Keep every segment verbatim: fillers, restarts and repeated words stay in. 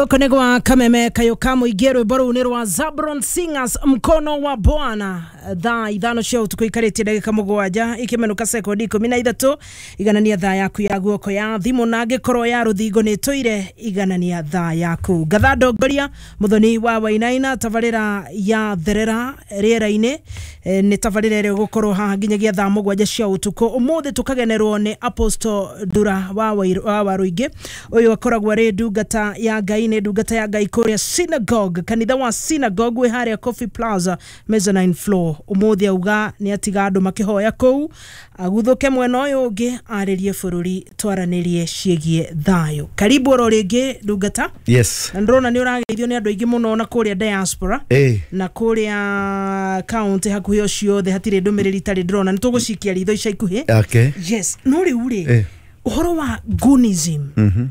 Gũkũ nĩ gwa Kameme Kayũ ka Mũingĩ, rwĩmbo rũu nĩ rwa Zabron Singers, Mkono wa Bwana. Thaa ithano cia ũtukũ ikarĩtie ndagĩka mũgwanja ikĩmenũka sekondi ikũmi na ithatũ. Iganania thaa yaku ya guoko ya thimũ, na angĩkorwo ya rũthingo nĩ tũire, iganania thaa yaku. Ngatha ndongoria Mũthoni wa Wainaina, tabarĩra ya Therera Rĩera-inĩ. Eh, nĩ tabarĩra ĩrĩa ĩgũkorwo haha nginyagia thaa mũgwanja cia ũtukũ. Ũmũthĩ tũkagenerwo nĩ Apostle Ndura wa Wairu- wa Waruingĩ. Ũyũ akoragwo arĩ ndungata ya Ngai, nĩ ndungata ya Ngai kũrĩa synagogue, kanitha wa Synagogue wĩ harĩa Coffee Plaza, mezzanine floor. Ũmũthĩ auga nĩ atiga andũ makĩhoya kũu, aguthũke mwena ũyũ ũngĩ arĩrie bũrũri, twaranĩrie ciĩgiĩ thayũ. Karibu oro rĩngĩ, ndungata. Yes. Na ndĩrona nĩ ũrageithio nĩ andũ aingĩ mũno na kũrĩa diaspora Eh. na kũrĩa kaunti hakuhĩ o ciothe, hatirĩ ndũmĩrĩri itarĩ ndĩrona. Nĩ tũgũcikia ritho ica ikuhĩ. Okay. Yes, no rĩu rĩ, Eh. ũhoro wa gunism,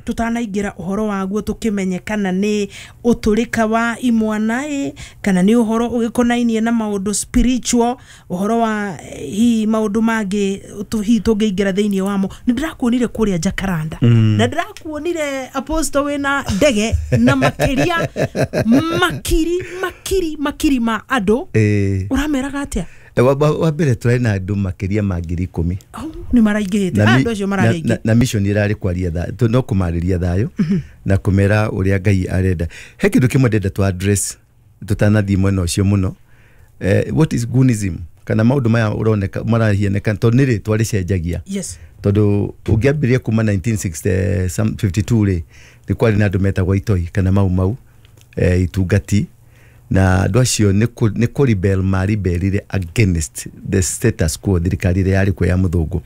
tũtanaingĩra ũhoro waguo tũkĩmenye kana nĩ ũtũrĩka wa imwana ĩ kana nĩ ũhoro ũgĩkonainie na maũndũ spiritual, ũhoro wa eh, hihi maũndũ mangĩ tũ- hihi tũngĩingĩra thĩinĩ wamo. Nĩ ndĩrakuonire kũrĩa Jacaranda na ndĩrakuonire, Apostle, wĩna ndege na makĩria makiri makiri makiri ma andũ. Eh. Ũrameraga atĩa? Wa, wa, wa mbere tũrarĩ na andũ makĩria ma ngiri ikũmi. Au, nĩ maraingĩhĩte. Na Ah, mi- andũ acio na, mararĩ aingĩ. na, na mission ĩrarĩ kwaria tha, no kũmarĩria thayũ na kũmera ũrĩa Ngai arenda. He kĩndũ kĩmwe ndenda tũ address tũtanathiĩ mwena ũcio mũno. eh, what is gunism, kana maũndũ maya ũroneka marahianĩka, tondũ nĩ rĩtwa rĩcenjagia? Yes. Tondũ ũngĩambĩrĩria kuma nineteen fifty-two rĩ, nĩ kwarĩ na andũ metagwo Itoi kana Mau Mau, eh, itungati, na andũ acio nĩ kũ- nĩ kũ rebel maribelire against the status quo, thirikari ĩrĩa yarĩ kuo ya mũthũngũ.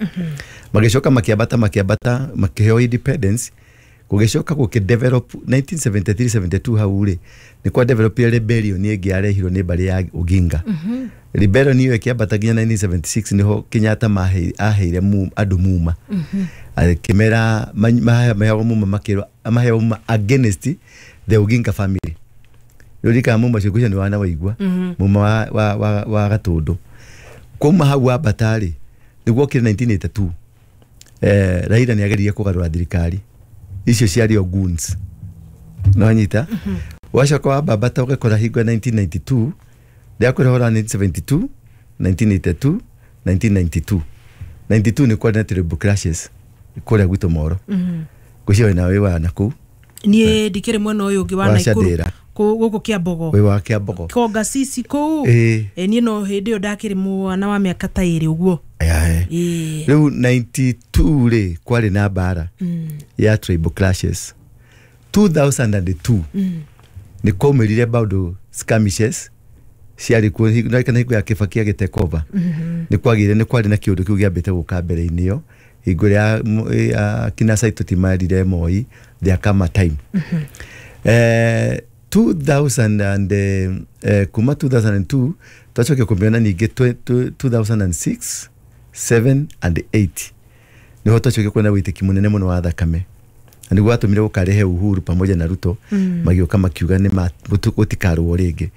Magĩcoka makĩambata, makĩambata, makĩheo independence. Gũgĩcoka gũkĩ develop nineteen seventy-three seventy-two hau rĩ, nĩ kwa develop rebellion ĩngĩ yarehirwo nĩ mbarĩ ya Oginga. Rebellion ĩyo ĩkĩambata nginya nineteen seventy-six, nĩho Kenyatta mahe- aheire mu- andũ muma, akĩmera maheagwo muma, makĩrwo maheo muma against the Oginga family. Rĩu muma ũcio ngwĩciria nĩ wana waigua muma wa, wa, wa, wa Gatũndũ. Kuma hau wambata rĩ, nĩguo okire nineteen eighty-two, eh, Raila nĩ ageririe kũgarũra thirikari icio ciarĩ o goons. No nyita wacoka wambambata ũgakora hingo ya nineteen ninety-two, ndĩrakwĩra ũhoro wa nineteen seventy-two, nineteen eighty-two, nineteen ninety-two. ninety-two nĩ kwarĩ na terrible clashes kũrĩa gwitũ Moro. Ngwĩciria wĩna wĩ wa nakũu. Niĩ ndikĩrĩ mwena ũyũ ũngĩ wa Wa Naikuru. Shandĩra. Kũ- gũkũ Kĩambogo. Wĩ wa Kĩambogo. Konga cici kũu. Ĩĩ. Ĩ, niĩ no hĩndĩ ĩyo ndakĩrĩ mwana wa mĩaka ta ĩrĩ ũguo. Aya, Ĩĩ. rĩu ninety-two rĩ, kwarĩ na mbara ya tribal clashes. two thousand and two nĩ kwaumĩrire maũndũ, skirmishes ciarĩ kuo na kana hingo ya Kibaki agĩtake over, nĩ kwagĩire, nĩ kwarĩ na kĩũndũ kĩu gĩambĩte gũka mbere-inĩ ĩyo, hingo ĩrĩa ya kina Saitoti marire Moi, there come a time eh, two thousand and, eh, kuma two thousand and two twacokia kũmĩona ningĩ twe- twe- two thousand and six, seven and eight, nĩho twacokia kuona wĩitĩki mũnene mũno wa thakame, na nĩguo watũmire gũkarehe Uhuru pamoja na Ruto mm. Magĩũka makiuga nĩ ma- gũtu- gũtikarũo rĩngĩ.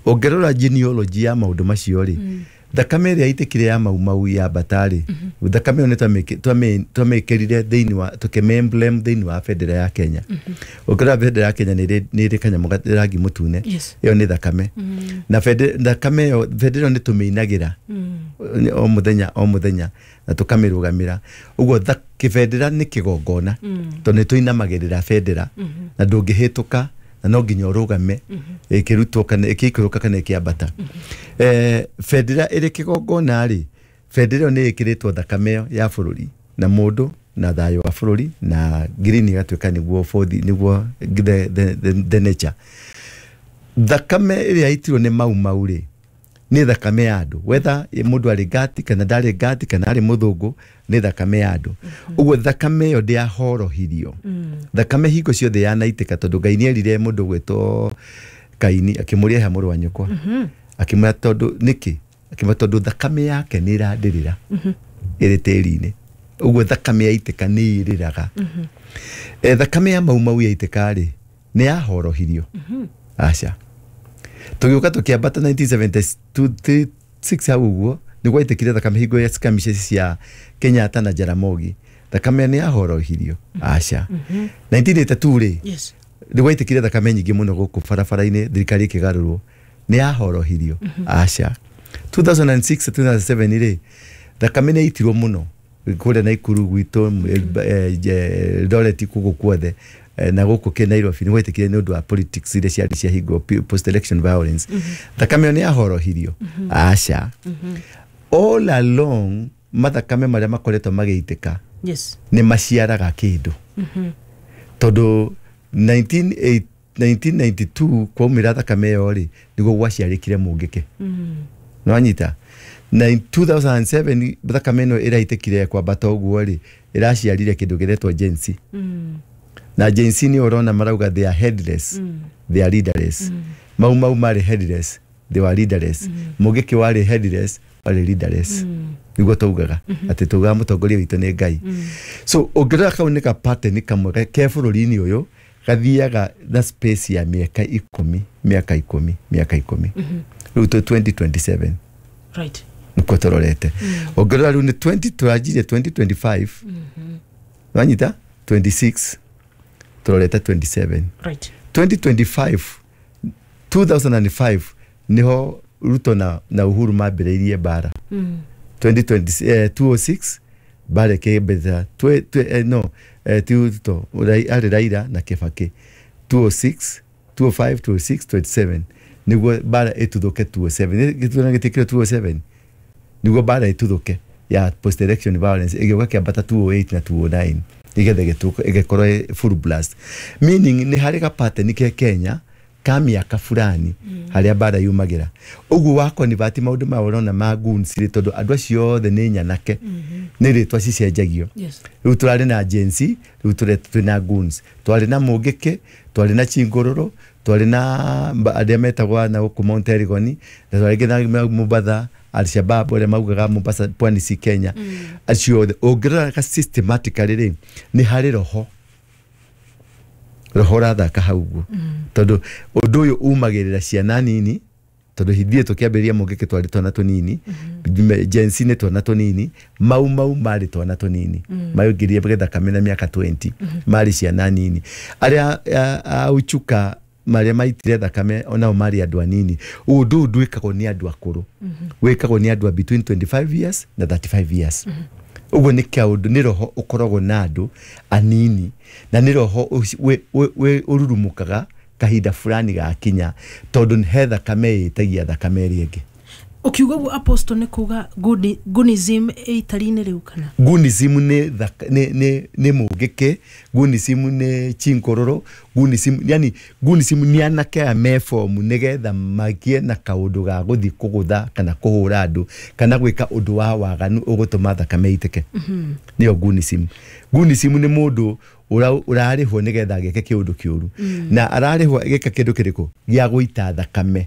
Ũngĩrora genealogy ya maũndũ macio rĩ, thakame ĩrĩa yaitĩkire ya Mau Mau ya mbata rĩ, thakame ĩyo nĩ twamĩkĩ- twamĩ- twamĩkĩrire thĩinĩ wa tũkĩmĩ emblem thĩinĩ wa bendera ya Kenya. Ũngĩrora bendera ya Kenya nĩ ĩrĩ nĩ ĩrĩ kanyamũ ga- rangi mũtune. Yes. Ĩyo nĩ thakame, na bende- thakame ĩyo, bendera ĩyo nĩ tũmĩinagĩra o mũthenya o mũthenya na tũkamĩrũgamĩra ũguo. tha- kĩbendera nĩ kĩgongona, tondũ nĩ tũinamagĩrĩra bendera na ndũngĩhĩtũka, na no nginya ũrũgame ĩkĩrutwo kana ĩkĩikũrũka kana ĩkĩambata. Eh, bendera ĩrĩ kĩgongona rĩ, bendera ĩyo nĩ ĩkĩrĩtwo thakame ĩyo ya bũrũri na mũndũ na thayũ wa bũrũri, na green ĩgatuĩka nĩguo bũthi, nĩguo the, the, the, the nature. Thakame ĩrĩa yaitirwo nĩ Mau Mau rĩ, nĩ thakame ya andũ, whether mũndũ arĩ ngati kana ndarĩ ngati kana arĩ mũthũngũ, nĩ thakame ya andũ. Ũguo thakame ĩyo ndĩahorohirio. Thakame hingo ciothe yanaitĩka, tondũ Ngai nĩerire mũndũ gwĩtwo Kaini, akĩmũria he mũrũ wa nyũkwa, akĩmwĩra tondũ nĩkĩ, akĩmwĩra tondũ thakame yake nĩ ĩrandĩrĩra ĩrĩ tĩri-inĩ. Ũguo thakame yaitĩka nĩ ĩrĩraga. Eh, thakame ya Mau Mau yaitĩka rĩ, nĩ yahorohirio? Aca. Tũgĩũka tũkĩambata nineteen seventy-six hau ũguo nĩ gwaitĩkire thakame hingo ya skirmishes cia Kenyatta na Jaramogi. Thakame nĩ yahorohirio? Aca. nineteen eighty-two rĩ, Yes. Nĩ gwaitĩkire thakame nyingĩ mũno gũkũ barabara-inĩ, thirikari ĩkĩgarũrwo, nĩ yahorohirio? Aca. two thousand six, two thousand seven rĩ, thakame nĩ yaitirwo mũno kũrĩa Naikuru gwitũ, eh, je- Eldoret, kũgũ kuothe, eh, na gũkũ kĩ Nairobi nĩ gwetĩkire nĩ ũndũ wa politics iria ciarĩ ciahingwo, post election violence. Thakame ĩyo nĩ yahorohirio? Aca. All along mathakame marĩa makoretwo magĩitĩka yes nĩ maciaraga kĩndũ, tondũ nineteen eight nineteen ninety-two kwaumĩra thakame ĩyo rĩ, nĩguo gwaciarĩkire mũngĩke. Nĩwanyita? Na in two thousand seven thakame ĩno ĩraitĩkire kwambata ũguo rĩ, ĩraciarire kĩndũ gĩretwo Gen Z. Na Gen Z nĩ ũrona marauga they are headless, they are leaderless. Mau Mau marĩ headless, they were leaderless. Mũngĩkĩ warĩ headless, warĩ leaderless. Nĩguo taugaga atĩ taugaga mũtongoria witũ nĩ Ngai. So ũngĩrora kau nĩ ka pattern kamwe ke ke bũrũri-inĩ ũyũ gathiaga na space ya mĩaka ikũmi, mĩaka ikũmi, mĩaka ikũmi. Rĩu twĩ twenty twenty-seven. Right nĩkuo tũrorete. Ũngĩrora rĩu nĩ twenty, tũranjirie twenty twenty-five, wanyita, twenty-six, tũrorete twenty-seven. right twenty twenty-five, two thousand five niho Ruto na, na Uhuru mambĩrĩirie mbara. twenty twenty, eh, two oh six mbara ĩkĩambĩrĩra. Twe- twe- eh, no eh, ti Ruto, Rai- arĩ Raila na Kibaki. two oh six, two oh five, two oh six, twenty-seven nĩguo mbara ĩtuthũke. two oh seven, gĩthurano gĩtĩkĩre two oh seven nĩguo mbara ĩtuthũke ya post election violence, ĩgĩũka kĩambata two oh eight na two oh nine igetha ĩgĩtuĩka- ĩgĩkorwo ĩ full blast, meaning nĩ harĩ ga pattern ke Kenya ka mĩaka fulani harĩa mbara yumagĩra. Ũguo wa convert maũndũ maya ũrona ma goons rĩ, tondũ andũ acio othe nĩ nyanake, nĩ rĩtwa cicenjagio. Yes Rĩu tũrarĩ na Gen Z, rĩu tũre twĩna goons, twarĩ na mũngĩkĩ, twarĩ na chingũrũrũ, twarĩ na mba- arĩa metagwo na gũkũ Mount Elgon, na twarĩ nginya Mombatha, Alshabab arĩa maugaga Mombasa pwani si Kenya. Acio othe ũngĩrora ka systematically rĩ, nĩ harĩ roho roho ũrathaka hau ũguo, tondũ ũndũ ũyũ umagĩrĩra ciana nini, tondũ hithie tũkĩambĩrĩria mũngĩkĩ twarĩ twana tũnini, Gen Z nĩ twana tũnini, Mau Mau marĩ twana tũnini, maingĩrire gĩthakame na mĩaka mĩrongo ĩrĩ, marĩ ciana nini. Arĩa a- a uchuka marĩa maitire thakame onao marĩ andũ anini. Ũndũ ũyũ ndwĩkagwo nĩ andũ akũrũ, wĩkagwo nĩ andũ a between twenty-five years na thirty-five years. Ũguo nĩ kaũndũ nĩ roho ũkoragwo na andũ anini, na nĩ roho ũci- wĩ- wĩ- wĩ- ũrurumũkaga kahinda fulani gakinya, tondũ he thakame ĩtagia thakame ĩrĩa ĩngĩ. Ũkiuga ũguo, apostle, nĩ kuga Guni- gunism ĩ itari-inĩ rĩu kana? Gunism nĩ thaka- nĩ nĩ nĩ mũngĩkĩ, gunism nĩ chinkororo, gunism yani gunism nĩ anake aya me fomu nĩgetha magĩe na kaũndũ ga gũthiĩ kũgũtha kana kũhũra andũ kana gwĩka ũndũ wa waganu ũgũtũma thakame ĩitĩke, nĩyo gunism. Gunism nĩ mũndũ ũra- ũrarĩhwo nĩgetha agĩke kĩũndũ kĩũru, na ararĩhwo agĩka kĩndũ kĩrĩkũ gĩa gũita thakame,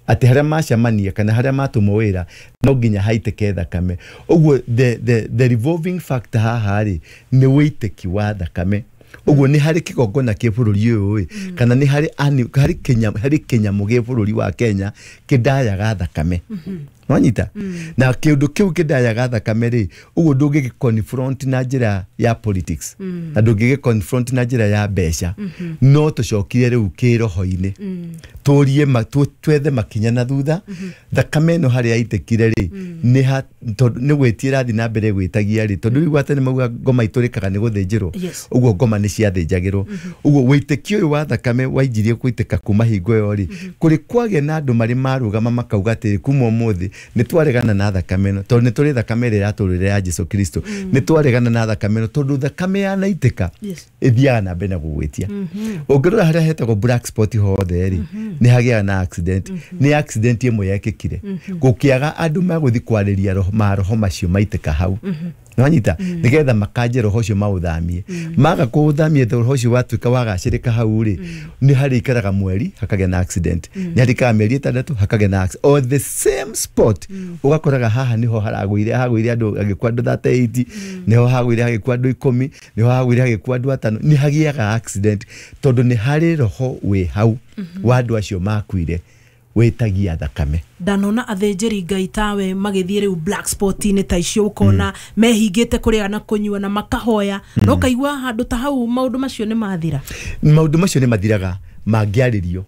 atĩ harĩa macemania kana harĩa matũmwo wĩra no nginya haitĩke thakame. Ũguo the, the, the revolving factor haha rĩ, nĩ wĩitĩki wa thakame. Ũguo nĩ harĩ kĩgongona kĩ bũrũri ũyũ ĩ, kana nĩ harĩ ani- harĩ kĩnya- harĩ kĩnyamũ gĩ bũrũri wa Kenya kĩndayaga thakame, wanyita? Na kĩũndũ kĩu kĩndayaga thakame rĩ, ũguo ndũngĩgĩ confront na njĩra ya politics, na ndũngĩgĩ confront na njĩra ya mbeca. No tũcokire rĩu kĩroho-inĩ, tũrie ma- tũ- twethe makinya na thutha thakame ĩno harĩa yaitĩkire rĩ, nĩ ha tondũ nĩ gwĩtia ĩrathiĩ na mbere gwĩtagia rĩ, tondũ rĩu atĩ nĩ mauga ngoma itũrĩkaga nĩ gũthĩnjĩrwo. Yes. Ũguo ngoma nĩ ciathĩnjagĩrwo. Ũguo wĩtĩkio ũyũ wa thakame wainjirie gwĩtĩka kuma hingo ĩyo rĩ, kũrĩ kwagĩa na andũ marĩ marũgama makauga atĩrĩ, kuma ũmũthĩ nĩ twaregana na thakame ĩno, tondũ nĩ tũrĩ thakame ĩrĩa yatũrĩre ya Jesu Kristo. Nĩ twaregana na thakame ĩno tondũ thakame yanaitĩka Yes. ĩthiaga na mbere na gũgwĩtia. Ũngĩrora harĩa hetagwo black spot hothe rĩ, nĩ hagĩaga na accident. Nĩ accident ĩmwe yekĩkire, gũkĩaga andũ magũthiĩ kwarĩria roho- maroho macio maitĩka hau, nĩwanyita, nĩgetha makanje roho ũcio maũthamie. Maga kũũthamia, roho ũcio watuĩka wagacĩrĩka hau rĩ, nĩ harĩ ikaraga mweri hakagĩa na accident, nĩ harĩ ikaraga mĩeri ĩtandatũ hakagĩa na accident, o the same spot. Ũgakoraga haha nĩho haragũire, hagũire andũ, hagĩkua andũ thirty-eight, nĩho hagũire hagĩkua andũ ikũmi, nĩho hagũire hagĩkua andũ atano. Nĩ hagĩaga accident tondũ nĩ harĩ roho wĩ hau wa andũ acio makuire. Wĩtagia thakame. Ndanona athĩnjĩri Ngai tawe magĩthiĩ rĩu black spot-inĩ ta icio, ũkona mehingĩte kũrĩa na kũnyua na makahoya, no kaigua handũ ta hau maũndũ macio nĩ mathira. Maũndũ macio nĩ mathiraga mangĩarĩrio.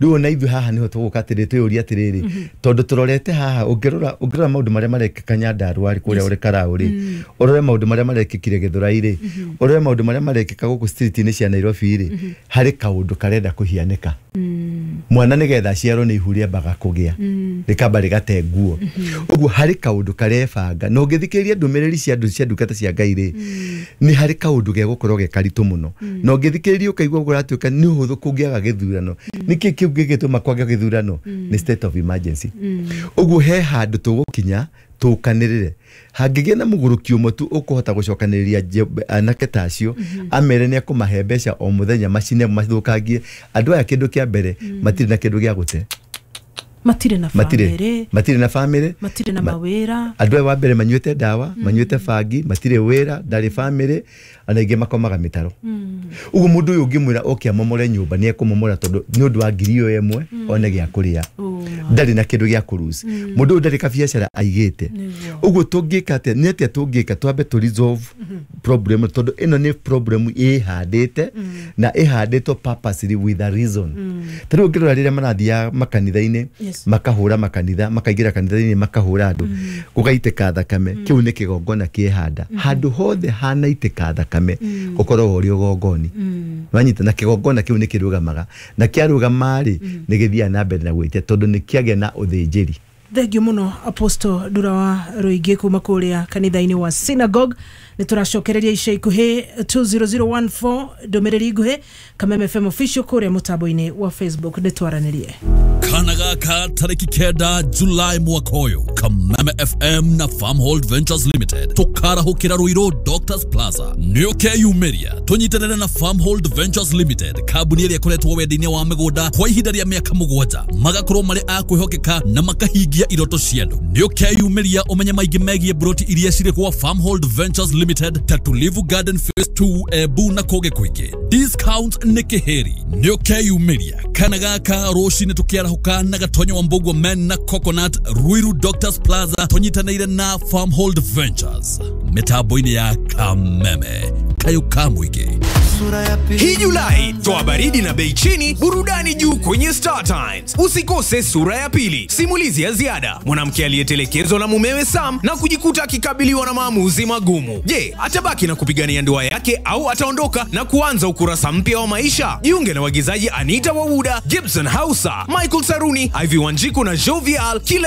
Rĩu ona ithuĩ haha nĩho tũgũka atĩrĩ, twĩyũrie atĩrĩrĩ, tondũ tũrorete haha, ũngĩrora ũngĩrora maũndũ marĩa marekĩka Nyandarũa rĩ, kũrĩa Olkalau rĩ, ũrore maũndũ marĩa marekĩkire Gĩthũrai rĩ, ũrore maũndũ marĩa marekĩka gũkũ street-inĩ cia Nairobi rĩ, harĩ kaũndũ karenda kũhianĩka. Mwana nĩgetha aciarwo nĩ ihu rĩambaga kũgĩa, rĩkamba rĩgate nguo. Ũguo harĩ kaũndũ karebanga, na ũngĩthikĩrĩria ndũmĩrĩri cia andũ cia ndungata cia Ngai rĩ, nĩ harĩ kaũndũ gegũkorwo ge karitũ mũno. Na ũngĩthikĩrĩria ũkaigua kũratuĩka nĩ ũhũthũ kũngĩaga gĩthurano. Nĩkĩ kĩu gĩgĩtũma kwage gĩthurano? Nĩ state of emergency. Ũguo he handũ tũgũkinya tũkanĩrĩre, hangĩgĩa na mũgũrũki ũmwe tu ũkũhota gũcokanĩrĩria anake ta acio, amere nĩ akũmahe mbeca o mũthenya, macine mathũkangie andũ aya. Kĩndũ kĩa mbere, matirĩ na kĩndũ gĩa gũte. Matirĩ na bamĩrĩ. Matirĩ na bamĩrĩ. Matirĩ na mawĩra. Andũ aya wa mbere manyuĩte ndawa, manyuĩte bangi, matirĩ wĩra, ndarĩ bamĩrĩ, ona aingĩ makomaga mĩtaro. Ũguo mũndũ ũyũ ũngĩmwĩra oke amomore nyũmba, nĩ ekũmomora, tondũ nĩ ũndũ wa ngiri ĩyo ĩmwe one gĩa kũrĩa. Ndarĩ na kĩndũ gĩa kũruci. Mũndũ ũyũ ndarĩ kabiacara aigĩte. Ũguo tũngĩka atĩa? Nĩ atĩa tũngĩka twambe tũ resolve problem, tondũ ĩno nĩ problem ĩhandĩte na ĩhandĩtwo purposely with a reason. Ta rĩu ũngĩrora rĩrĩa marathiaga makanitha-inĩ, makahũra makanitha, makaingĩra kanitha-inĩ, makahũra andũ, gũgaitĩka thakame, kĩu nĩ kĩgongona kĩhanda. Handũ hothe hanaitĩka thakame ũkoragwo ũrĩ ũgongoni. Wanyita? Na kĩgongona kĩu nĩ kĩrũgamaga, na kĩarũgama rĩ, nĩ gĩthiaga na mbere na gwĩtia, tondũ nĩ kĩagĩa na ũthĩnjĩri. Thengiũ mũno Apostle Ndura wa Rũingĩ kuma kũrĩa kanitha-inĩ wa Synagogue. Nĩ tũracokereria ica ikuhĩ. Two zero zero one four, ndũmĩrĩri nguhĩ, Kameme F M official kũrĩa mũtambo-inĩ wa Facebook, nĩ twaranĩrie. Kana gaka tariki kenda Julai mwaka ũyũ, Kameme F M na Farmhold Ventures Limited tũkarahũkĩra Ruiru Doctors Plaza. Nĩ ũkeyumĩria tũnyitanĩre na Farmhold Ventures Limited, kambuni ĩrĩa ĩkoretwo wendia-inĩ wa mĩgũnda kwa ihinda rĩa mĩaka mũgwanja, magakorwo marĩ a kwĩhokeka na makahingia iroto cia andũ. Nĩ ũkeyumĩria ũmenye maingĩ megiĩ broti iria cirĩ kwa Farmhold Ventures Limited ta Tulivu Garden Phase two, Embu na kũngĩ kũingĩ. Discount nĩ kĩhĩri. Nĩ ũkeyumĩria kana gaka rũcinĩ tũkĩarahũka na Gatonyo wa Mbũguo Men na Coconut, Ruiru Doctors Plaza, tũnyitanĩire na Farmhold Ventures mĩtambo-inĩ ya Kameme, kayũ ka mũingĩ. Hii Julai toa baridi na bei chini, burudani juu kwenye Star Times. Usikose Sura ya Pili, simulizi ya ziada, mwanamke aliyetelekezwa na mumewe Sam na kujikuta akikabiliwa na maamuzi magumu. Je, atabaki na kupigania ndoa yake au ataondoka na kuanza ukurasa mpya wa maisha? Jiunge na waigizaji Anita Wawuda, Gibson Hausa, Michael Saruni, Ivy Wanjiku na Jovial kila